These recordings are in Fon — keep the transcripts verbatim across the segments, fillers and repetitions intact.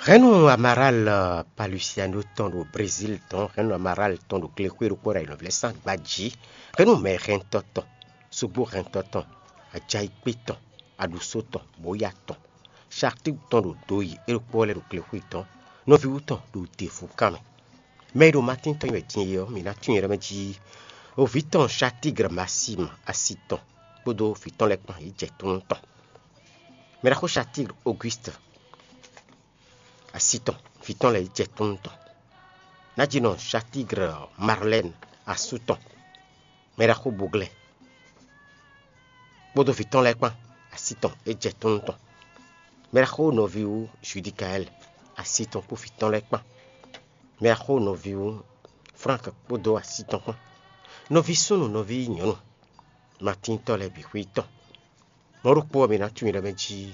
Hɛ̌nnu Amaral Palusiano tɔn ɖo Brezíl tɔn, hɛ̌nnu Amaral tɔn ɖo glexwé ɖokpó ɖo ayǐnɔvlɛ́sán gba jí, hɛ̌nnu mɛhɛntɔ́ tɔn, sugbóhɛntɔ́ tɔn, ajayikpé tɔn, aɖusó tɔn, bóyá tɔn, Satík tɔn ɖo do yi é ɖokpó lɛ́ɛ ɖo glexwé tɔn, nɔví wú tɔn ɖo devu kan mɛ. Mɛ e ɖo Matín tɔn nyi wɛ din é ɔ́, mǐ ná tunwun nyɛ ɖɔ mɛ jí. Oví tɔn Satígr Masíma asi tɔn kpódó vǐ tɔn lɛ́ɛ kpán yě jɛ tónú tɔn. Mɛ ɖaxó Satígr Ogwíst asi tɔn, vǐ tɔn lɛ́ɛ yě jɛ tónú tɔn. Nǎjínɔ Satígr Marlɛ́n asú tɔn, mɛ ɖaxó Boglɛ́ kpódó vǐ tɔn lɛ́ɛ kpán asi tɔn é jɛ tónú tɔn. Mɛ ɖaxó nɔví wú Judikaɛl asi tɔn kpó vǐ tɔn lɛ́ɛ kpán. Mɛ ɖaxó nɔví wú Flánk kpódó asi tɔn kpán. Nɔví súnnu, nɔví nyɔ̌nu, Matíntɔ́ lɛ́ɛ bǐ xwí tɔn. Mɔ̌ ɖokpó ɔ́, mǐ ná tunwun nyɛ ɖɔ mɛ jí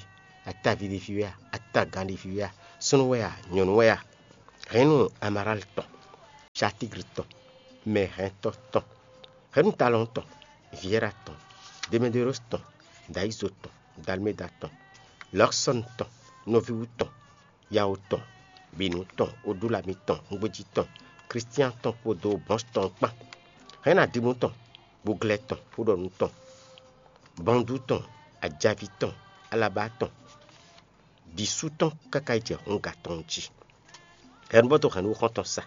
ataví ɖé ví wɛ a, atagán ɖé ví wɛ a, súnnu wɛ a, nyɔ̌nu wɛ a, hɛ̌nnu Amaráli tɔn, Satígli tɔn, mɛhɛntɔ́ tɔn, hɛ̌nnu Talɔn tɔn, Viɛ́ra tɔn, Demedérosi tɔn, Dayízo tɔn, Dalméda tɔn, Lɔ̌sɔ́ni tɔn, nɔví wú tɔn, Yawo tɔn, Binu tɔn, Odúlami tɔn, Ngbéjí tɔn, Klístián tɔn kpódó Bɔ́ns tɔn kpán, hɛ̌nnu Adimú tɔn, Gboglɛ́ tɔn, Xúɖɔnú tɔn, Bɔndú tɔn, Ajaví tɔn, Alabá tɔn, Dǐsú tɔn káká yi jɛ Hunga tɔn jí. Hɛ̌nnu bɔ dó hɛ̌nnu xɔ́ntɔn sa.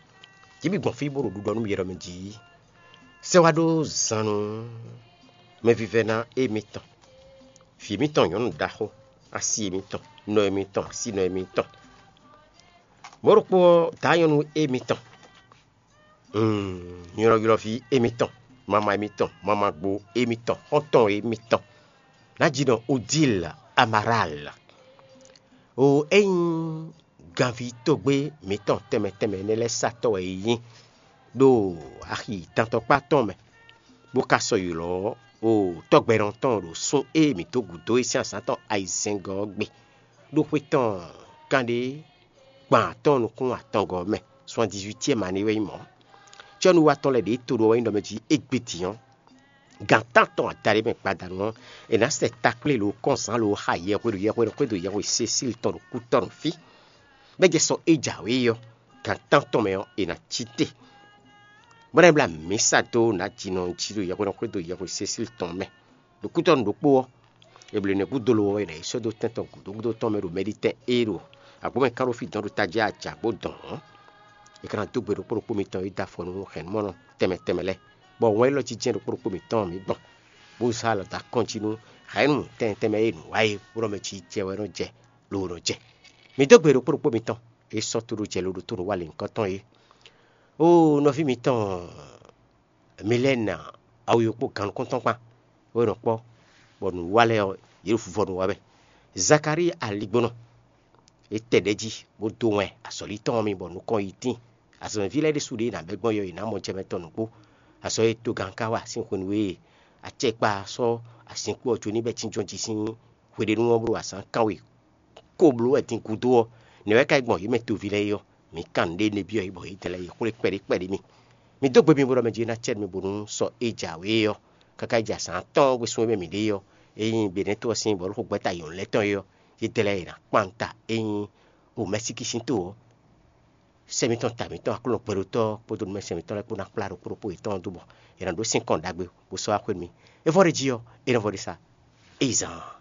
Jǐ bǐ gbɔn fí bó ɖo ɖiɖɔ nú mì ɖɔ mɛ jí. Sɛ́ wá ɖó zan nú mɛvívɛ́ná émítɔn, vǐ émítɔn nyɔ̌nu ɖaxó, asi émítɔn, nɔ émítɔn, asi nɔ émítɔn. Mɔ̌ ɖokpó ɔ́, dǎ nyɔ̌nu émítɔn, nylɔ́ylɔ́ví émítɔn, mama émítɔn, mamagbo émítɔn, xɔ́ntɔn émítɔn, ná ji nɔ Odíl Amaráal. O é nyí ganví tógbé mǐtɔn tɛnmɛ tɛnmɛ énɛ́ lɛ́ɛ satɔ́ wɛ é nyí ɖo axi dantɔkpá tɔn mɛ, bó ka sɔ́ ylɔ́ o tɔ́gbɛ́nɔ tɔn ɖo sún e mǐ dó gǔdo é sín azǎn tɔn ayizɛ́ngɔ́ ɔ́ gbe, ɖó xwé tɔn kanɖé gban atɔ́ɔ́n nukún atɔngɔ́ ɔ́ mɛ, soixante-dix-huitième année wɛ nyí mɔ̌. Cɔ́núwatɔ́ lɛ́ɛ ɖě to ɖó ɔ́ wɛ nyí ɖɔ mɛ jí égbé din ɔ́, gan tántɔn adaɖé mɛ gbadanu ɔ́, è nǎ sɛ takplé lo kɔ́nzán lo xa yɛhweɖo yɛhweɖo xwédo yɛhwe Sesíli tɔn ɖo kútɔ́ nɔ fí, bɔ é jɛ sɔ é jǎwe ɔ́, gan tántɔn mɛ ɔ́, è nǎ cí te, bó ná yi blá mǐsa dó nǎjinɔ jí ɖo yɛhweɖɔ xwédo yɛhwe Sesíli tɔn mɛ. Ɖo kútɔ́ nɔ ɖokpó ɔ́, è blǒ nɛ́ gúdo lo ɔ́, è nǎ yi sɔ́ dó tɛn tɔn gǔdo gúdo tɔn mɛ ɖo Mɛɖitɛn é ɖo agbǒmɛ kán ɖo fí dɔn ɖo tají ajǎ bó dɔn ɔ́, è ka ná dó gbe ɖokpó ɖokpó mitɔn e dó afɔ nú hɛ̌nnumɔnɔ tɛnmɛ tɛnmɛ lɛ́ɛ, bɔ wɛn élɔ́ jínjɛ́n ɖokpó ɖokpó mitɔn mǐ gbɔn, bó zán alɔ dó akɔ́n jí nú hɛ̌nnu tɛnmɛ tɛnmɛ e nǔ wa é, bó nɔ mɛ jí jɛ wɛ nɔ jɛ, lo nɔ jɛ. Mǐ dó gbe ɖokpó ɖokpó mitɔn e sɔ́ tó ɖó jɛ lo ɖo tó nǔ wa lěhunkɔtɔn é. Oo, nɔví mitɔn Milɛ́na awu yokpó gannukúntɔn kpán, bó nɔ kpɔ́, bɔ nǔwa lɛ́ɛ ɔ́, yě ɖo vuvɔ nú wa wɛ. Zakalíi aligbónɔ, é tɛ ɖɛ̌ jí, bó dó wɛn azɔ̌lí tɔn ɔ́ mì, bɔ nukɔn yi tíin. Azɔ̌mɛví lɛ́ɛ ɖésú ɖě è nǎ bɛ́ gbɔn yɔ è nǎ mɔ jɛ mɛ tɔn nǔgbó. Azɔ̌ e togán ka wa sín hwenu e acɛkpa sɔ́ azinkpo ɔ́ jó n'i bɔ é jínjɔ́n jí sín hweɖénu ɔ́ bló azǎn kánwe ko bló wɛ din gúdo ɔ́, nɛ̌ wɛ ka yi gbɔn yě mɛ toví lɛ́ɛ é ɔ́? Mǐ kan nǔɖé nɛ́ byɔ́ yě bɔ yě dɛn lɛ́ɛ yě xwlé kpɛɖé kpɛɖé mì. Mi dó gbe mi bo ɖɔ mɛ jí ná cɛ́ mi bónú sɔ é jǎwe é ɔ́, káká yi jɛ azǎn atɔ́ɔ́n gbésún e mɛ mǐ ɖe é ɔ́, ényí Benɛ́to ɔ́ sín bɔ̌luxogbɛ́ta yɔ̌nu lɛ́ɛ tɔn é ɔ́, yě dɛn lɛ́ɛ yě ná kpan ta ényí o Mɛsíkísinto ɔ́, sɛ́ mǐtɔn ta mǐtɔn Aklúnɔ gbɛɖotɔ́ kpódó nú mɛ sɛn mǐtɔn lɛ́ɛ kpó ná kplá ɖokpó ɖokpó yětɔn ɔ́ dó bɔ è nǎ ɖó sín kɔn ɖagbe bó sɔ́ wá xwé nú mì. É vɔ ɖ'é jí ɔ́, é nɔ vɔ ɖ'é sá. Éyi zan.